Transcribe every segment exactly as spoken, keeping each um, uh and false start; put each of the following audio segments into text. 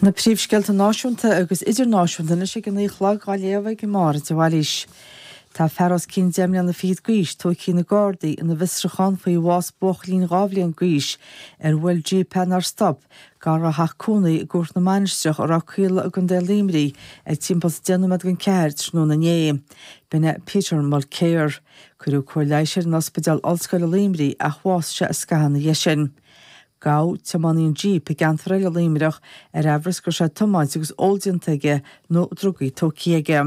Na príomhscéalta náisiúnta agus idirnáisiúnta anois ag a naoi a chlog á léamh ag Máire de Bhailís. Tá fear os cionn deich mbliana fichead d'aois tógtha ag na Gardaí ina bhfiosrúchán faoi bhás buachaillín dhá bhliain d'aois ar bhuail jíp é nár stop gar dá theach cónaí i gCuaich na Mainistreach i Ráth Caola i gContae Luimnigh ag timpeall deich nóiméad don ceathair tráthnóna inné. B'in é Peter Mulcair. Cuireadh cóir leighis air in Ospidéal Ollscoile Luimnigh ach bhásaigh sé scaitheamh ina dhiaidh sin. Gabhadh tiománaí an jíp i gceantar eile Luimneach ar amhras go raibh sé ag tiomáint agus ól déanta aige nó drugaí tógtha aige.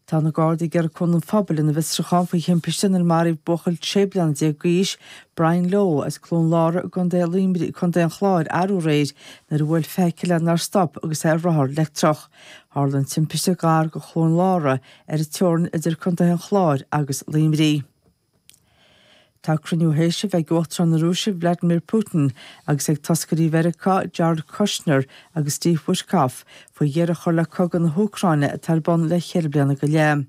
Tá na Gardaí ag iarraidh cúnamh an phobail ina bhfiosrúchán faoi thimpiste inar maraíodh buachaill sé bliana déag d'aois, Brian Lowe, as Cluain Lára i gContae Luimnigh, Contae an Chláir arú aréir nuair a bhuail feithicil é nár stop agus é ar rothar leictreach. Tharla an timpiste gar do Chluain Lára ar an teorainn idir Contaetha an Chláir agus Luimnigh. Tá cruinniú théis a bheith ag Uachtarán na Rúise Vladimir Putin agus ag toscairí Mheiriceá Jared Kushner agus Steve Witkoff faoi dheireadh a chur le cogadh na hÚcráine atá ar bun le ceithre bliana go leith.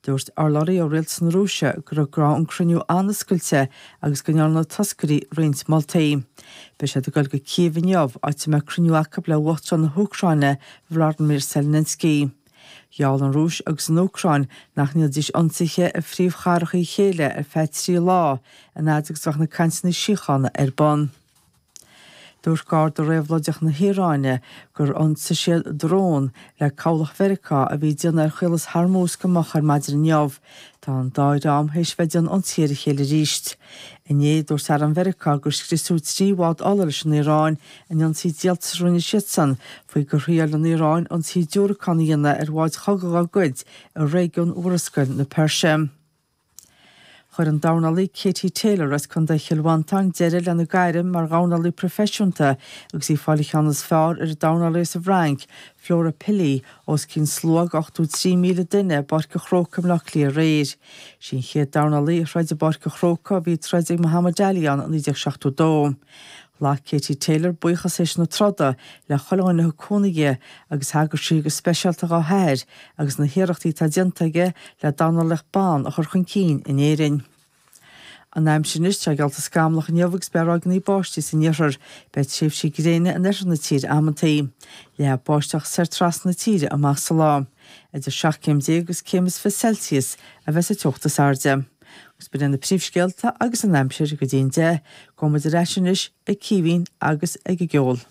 Dúirt urlabhraí ó rialtas na Rúise go raibh an cruinniú an-oscailte agus go ndearna na toscairí roinnt moltaí. Beidh siad ag dul go Cív inniu, áit a mbeidh cruinniú acu le Uachtarán na hÚcráine Volodymyr Zelensky. Gheall an Rúis agus an Úcráin nach ndéanfaidís ionsaithe ar phríomhchathracha a chéile ar feadh trí lá, an fhad agus a bheadh na cainteanna síochána ar bun. Dúirt Garda Réabhlóideach na hIaráine gur ionsaigh siad drón le cabhlach Mheiriceá a bhí ag déanamh ar Chaolas Hormuz go moch ar maidin inniu. Tá an dá dhream théis bheith ag déanamh ionsaithe ar a chéile arís. Inné, dúirt arm Mheiriceá gur scriosadh trí bhád ola leis an Iaráin in ionsaí díoltais a rinne siadsan faoi gur thriail an Iaráin ionsaí diúracán a dhéanamh ar bháid chogaidh dá gcuid i réigiún Mhurascaill na Peirse. Chuir an dornálaí Katie Taylor as Contae Chill Mhantáin deireadh lena gairm mar dhornálaí proifisiúnta agus í ag fáil an ceann is fearr ar an dornálaí as an bhFrainc, Flora Pilly, os cionn slua de ochtó trí míle duine i bPáirc an Chrócaigh i mBleá Cliath aréir. Sí an chéad dornálaí a throid i bPáirc an Chrócaigh ó bhí troid ag Muhammad Ali ann i naoi déag seachtó dó. Ghlac Katie Taylor buíochas théis na troda le chuile dhuine a thug cúnamh di agus thagair sí go speisialta dá hathair agus na hiarrachtaí atá déanta aige le dornálaíocht ban a chur chun cinn in Éirinn. An aimsir anois, tá geallta scamallach inniu agus beidh ráigeanna báistí san iarthar. Beidh tréimhsí gréine in oirthear na tíre amantaí. Leathfaidh báisteach soir trasna na tíre amach sa lá. Idir seacht céim déag agus céim is fiche Celsius a bheas an teocht is airde. Agus b'in na príomhscéalta agus an aimsir go dtí an deich, gabhfaidh muid ar ais anois ag Caoimhín agus ag an gceol.